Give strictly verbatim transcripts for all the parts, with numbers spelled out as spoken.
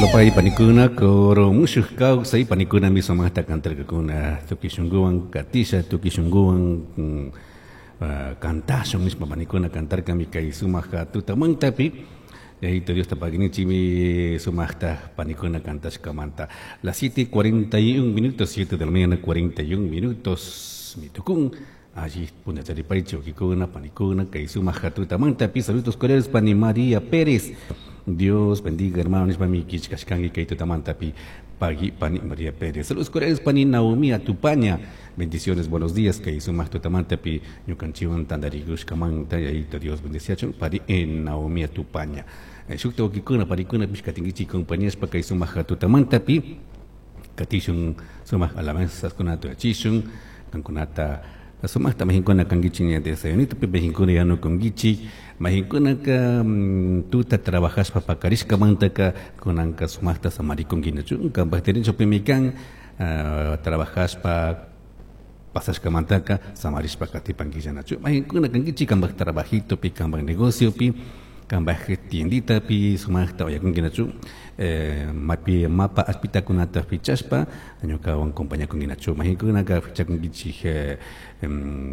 Lopay panikuna coro mushuq kawsay panikuna mi sumaqta kantarkakuna tukuy shunkuwan katisha tukuy shunkuwan uh, kantashun nishpa panikuna kantarkami kay sumaq tutamantapi. Yayito Diosta paginichimi sumaqta panikuna kantashkamanta. Las siete cuarenta y un minutos, siete de la mañana cuarenta y un minutos, mitukun. Allí punacharipaychi ukikuna panikuna kay sumaq tutamantapi. Saludos cordiales pani María Pérez. Dios bendiga, hermano, nishpami kichkashkanki kay tutamantapi pagui pani María Pérez. Saludos cordiales pani Naomi Atupaña. Bendiciones, buenos días kay sumaq tutamantapi ñukanchiwan tantarikushkamanta. Yayito Dios bendiciachun pani Naomi Atupaña. Shukta ukikuna panikuna pishkatinkichik compañíaspa kay sumaq tutamantapi katishun sumaq alabanzaskunata uyachishun kankunata sumaqta mahinkuna kankichik ña desayunitopi mahinkuna yanukunkichik mahinkunaka tuta trabajashpa pakarishkamantaka kunanka sumaqta samarikunki kanpak derechopimi kan trabajashpa pasashkamantaka samarishpa katipankillanachu mahinkuna kankichik kanpak trabajitopi kanpak negociopi kanpak tienditapi sumaqta uyakunkinachu eh, mapi mapa ashpitakunata fichashpa ñukawan compañakunkinachu mahinkunaka fichakunkichik eh,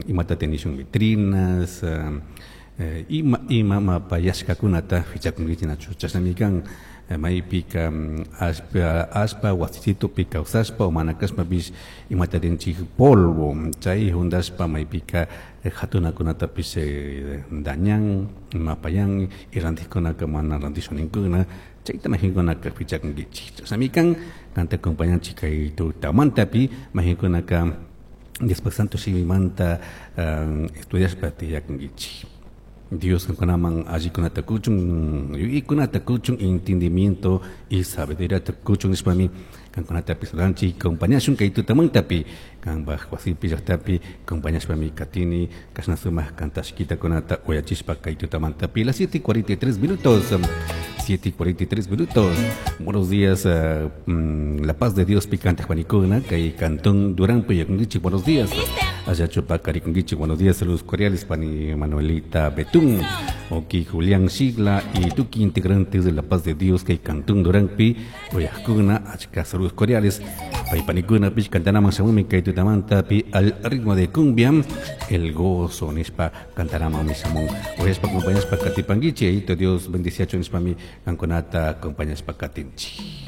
imata tenishun vitrinas eh, ima ima mapa yashkakunata fichakunkichinachu chashnami kan maypika ashpa ashpa wasisitupi kawsashpa o mana kashpapish imata rinchik polvo chay juntashpa maypika hatunakunatapish dañan mapayan y rantikunaka mana rantishuninkuna chayta mahinkunaka fichakunkichik chashnami kan kanta acompañanchik kay tutamantapi mahinkunaka Diospak Santo shimimanta estudiashpa tiyakunkichik. Dios kankunaman allikunata kuchun yuyaykunata kuchun entendimiento y sabiduría kuchun nishpami kankunatapi saludanchik compañashun kay tutamantapi kanpak wasipi llaqtapi compañashpami katini kashna sumaq kantashkitakunata uyachishpa kay tutamantapi. Las siete cuarenta y tres minutos, siete cuarenta y tres minutos. Buenos días, uh, mm, la paz de Dios picante Juanicuna, kay Cantón Durán Puyakungichi, buenos días. Allá Chupacarikungichi, buenos días, saludos cordiales pani Manuelita Betún, Oki Julián Sigla y tuki integrantes de la paz de Dios kay Cantón Durán Pi, Uyakuna, achka saludos cordiales. Pay panikuna pich cantarama shamumi kay tutamanta pi al ritmo de cumbia, el gozo nishpa cantarama mishamun. Uyaspa compañaspa katipangichi, ayito Dios bendiciacho nishpami kankunata acompañaspa katinchi.